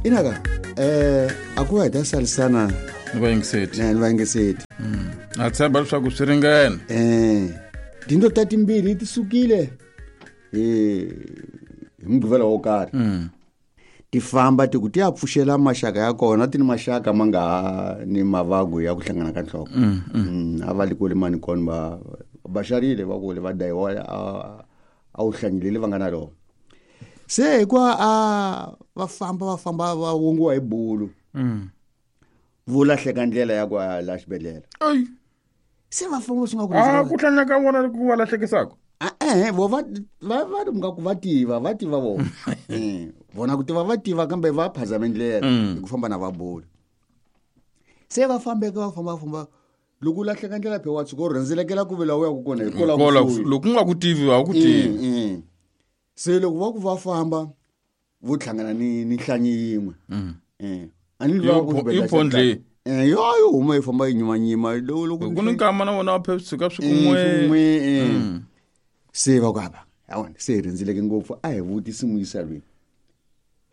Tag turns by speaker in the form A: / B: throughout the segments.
A: Inaka a ku va hi ta salisana
B: ni vayingiseti
A: ni vayingiseti.
B: Na tshemba leswaku swi ringene.
A: Tinto ta timbirhi ti sukile hi mugqivela wo karhi. Ti famba ti ku ti ya pfuxela maxaka ya kona, ti ni maxaka ma nga ha ni mavagu ya ku hlangana ka nhloko. A va li kule mani kona va xarile va kule va dayiwa a wu hlanyilele va nga na rona. Se hikuva a va famba va famba va wongiwa hi bulu. Vo lahleka ndlela ya ku ya la xibedhlele. Se va famba swi nga ku
B: A ku hlanya ka vona ku va lahlekisaka?
A: Vo va va va ri nga ku va tiva, va tiva vona. Vona ku tiva va tiva kambe va phazama ndlela hi ku famba na va bulu. Se va fambeka va famba va famba loko u lahleka ndlela phe wa tshuka u rhendzelekela ku ve laha u yaka kona hi kola
B: Kola
A: kusuhi.
B: Loko u nga ku tivi a wu ku tivi.
A: Se loko va ku va famba vo hlangana ni nhlanyi yin'we. A ni lava ku xibedhlele
B: I pondle.
A: Yo, yo huma yi famba yi nyimanyima. Loko, loko
B: Ku ni nkama na vona va phe tshuka swi kun'we.
A: Swi kun'we. Se va ku hava. Awona, se hi rhendzeleke ngopfu, a hi vutisi muyisa loyi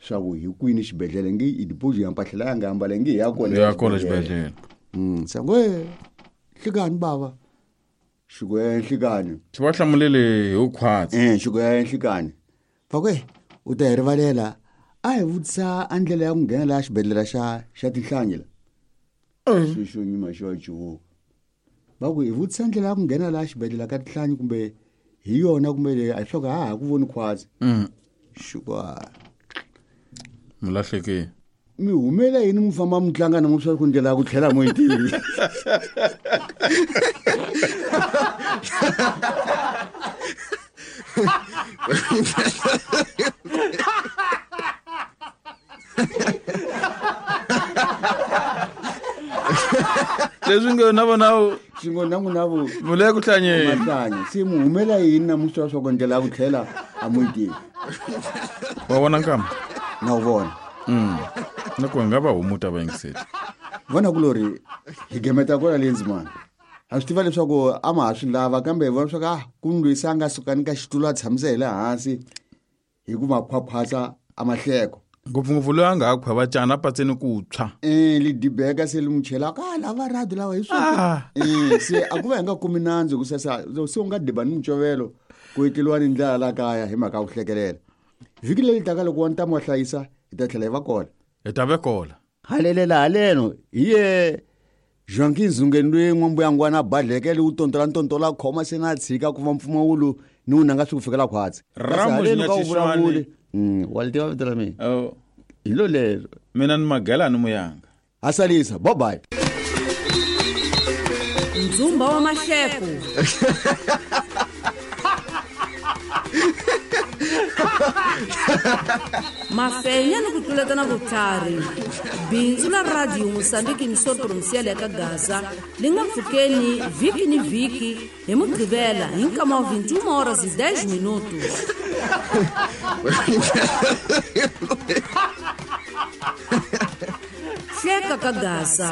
A: swa ku hi kwini xibedhlele nge i dipozi ya mpahla leyi a nga ambala nge hi ya kona
B: Ya kona
A: xibedhlele.
B: xibedhlele.
A: Se ngo, nhlikani bava. Xi ku, nhlikani.
B: Xi va hlamulele hi vukhwatsi.
A: Xi ku, nhlikani. Va ku, u ta hi rivalela, a hi vutisa a ndlela ya ku nghena laha xibedhlele xa tinhlanyi la. Xi xo nyima xi va cuvuka. Va ku hi vutisa ndlela ya ku nghena laha xibedhlele ka tinhlanyi kumbe hi yona kumbe leyi a hi swa ku ha ha ku voni khwatsi. Xi ku, a.
B: Mulahlekile.
A: Mi humela yini mi famba mi tlanga na n'wi swa ku ndlela ya ku tlhela mo yi tivi.
B: Leswi nge na vona u
A: Swi ngo na n'wina vo
B: mu le ku hlanyeni.
A: Mahlanya. Se mu humela yini na musi wa swa ku ndlela ya ku tlhela a mu yi tivi.
B: Wa vona nkama?
A: Na wu vona.
B: Na ku nga va humuta vayingiseri.
A: Vona ku lori hi gemeta kona le ndzimana. Ha swi tiva leswaku a ma ha swi lava kambe hi vona leswaku ku ni loyi se a nga suka ni ka xitulu a tshamisa hi le hansi hi ku makhwakhwatsa a mahleko.
B: Ngopfungopfu loyi a nga ha khweva cana a patseni ku tshwa.
A: Li dibeka se li n'wi chela ka lava rhadi lava hi swona. Se a ku va hi nga kumi nandzu ku sasa se u nga diba ni mucovelo ku etleliwa ni ndlala la kaya hi mhaka ya ku hlekelela. Vhiki leri taka loko wa ntamu wa hlayisa hi ta tlhela hi va kona.
B: Hi ta ve kona.
A: Halelela haleno hi ye Joaquin Zungeni loyi n'wambuyangwana a badleke wu tontola ntontola a khoma se na tshika ku va mpfumawulo ni wu nanga swi ku fikela khwatsi. Kasi
B: Ramos
A: haleno ka wu
B: Nyatshiswani.
A: vulavuli. Wa li tiva vito ra mina?
B: Oh.
A: Hi lo lero.
B: Mina ni Magela ni Muyanga.
A: Hasalisa, bye bye.
C: Ndzumba wa mahleko. Mafenya ni ku tluletana vutlhari. Bindzu la Radio Mozambique Emissão Provincial ya ka Gaza li nga pfukeni vhiki ni vhiki hi Mugqivela hi nkama wa 21 horas e 10 minutos. Hleka ka Gaza.